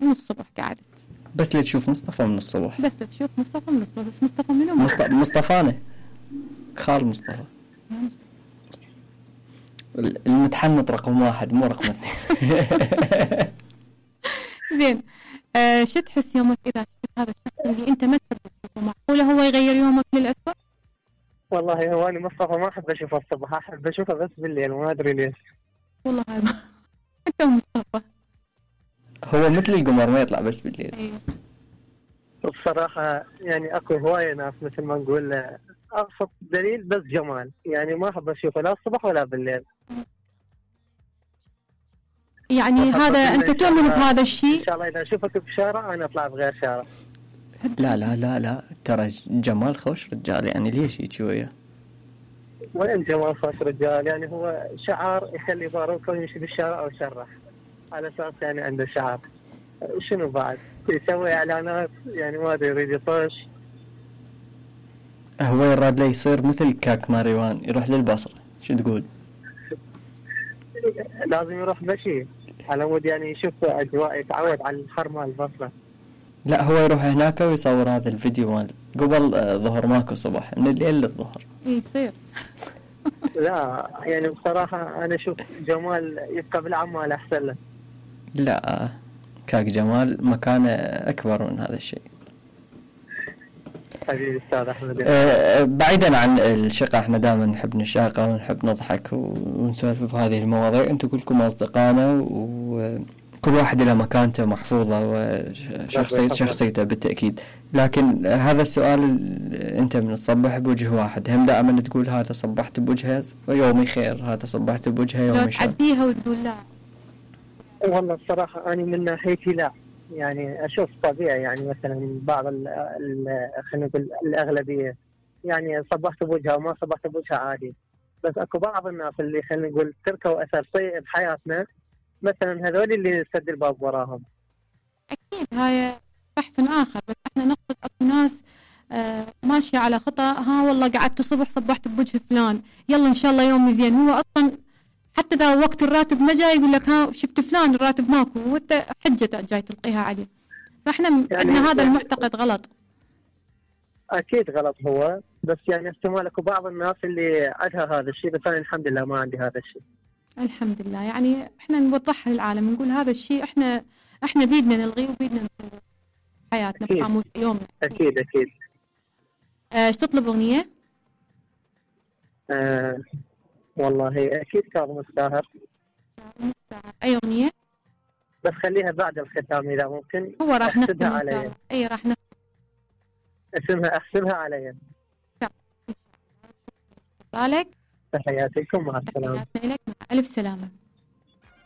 والصبح قعدت. بس لتشوف مصطفى من الصبح. بس تشوف مصطفى من الصبح. بس مصطفى منو؟ مصطفانا خال مصطفى. المتحنط رقم 1 مو رقم 2. زين. شو تحس يومك إذا شفت هذا الشخص اللي أنت ما تحب تشوفه؟ معقولة هو يغير يومك للأسوأ؟ والله هو أنا مصطفى ما أحب أشوفه الصبح، أحب أشوفه بس بالليل، ما أدري ليش. والله هذا أنت مصطفى هو مثل القمر ما يطلع بس بالليل. أيوه. بصراحة يعني أكو هواية ناس مثل ما نقول أبسط دليل بس جمال، يعني ما أحب أشوفه لا الصبح ولا بالليل. يعني هذا أنت تؤمن بهذا الشيء؟ إن شاء الله إذا أشوفك بشارع أنا أطلع بغير شارع. لا لا لا لا ترى جمال خوش رجال، يعني ليش يجي وياه؟ وين جمال خوش رجال؟ يعني هو شعار يخلي باروكه يمشي بالشارع أو يشرح على أساس يعني عنده شعار. شنو بعد؟ يسوي إعلانات يعني ما أدري يريد يطش. هو يراد لي يصير مثل كاك ماريوان يروح للبصرة، شو تقول؟ لازم يروح مشي على مود يعني يشوف أجواء، يتعود على الحر مال البصرة. لا هو يروح هناك ويصور هذا الفيديو مال قبل ظهر ماكو صبح، من الليل للظهر يصير. لا يعني بصراحة أنا أشوف جمال يبقى بالعمال أحسن له. لا كاك جمال مكانه أكبر من هذا الشيء. حبيبي أستاذ أحمد. بعيدا عن الشقة، احنا دائما نحب نشاقة ونحب نضحك ونسولف بهذه المواضيع. انتم كلكم أصدقائنا وكل واحد له مكانته محفوظة وشخصيته بالتأكيد. لكن هذا السؤال انت من الصبح بوجه واحد، هم دائما تقول هذا صبحت بوجهه يومي خير، هذا صبحت بوجهه يومي شر. لو تعديها وتقول لا؟ والله الصراحة أنا من ناحيتي لا، يعني أشوف طبيعي، يعني مثلا بعض خلينا نقول الأغلبية يعني صبحت بوجهها وما صبحت بوجهها عادي. بس أكو بعض الناس اللي خلينا نقول تركوا أثر سيء بحياتنا، مثلا هذول اللي سد الباب وراهم. أكيد هاي بحث آخر، بس احنا نقصد أكو ناس ماشية على خطأ. ها والله قعدت الصبح صبحت بوجه فلان، يلا إن شاء الله يومي زين. هو أصلا حتى إذا وقت الراتب ما جاي يقول لك ها شفت فلان الراتب ماكو، وانت حجة جاي تلقيها عليه. فاحنا يعني هذا المعتقد غلط. أكيد غلط هو، بس يعني احتمال أكو بعض الناس اللي عندها هذا الشيء، بس أنا الحمد لله ما عندي هذا الشيء. الحمد لله. يعني احنا نوضحها للعالم، نقول هذا الشيء احنا بيدنا نلغيه وبيدنا نسويه حياتنا بقاموس يومنا. أكيد أكيد. ايش تطلب أغنية؟ والله أكيد كاظم الساهر. أي أغنية؟ بس خليها بعد الختام إذا ممكن. هو راح نحسبها علي. أي راح نختم. أحسبها علي. صالك. تحياتكم، مع السلامة. تحياتنا لك، مع ألف سلامة.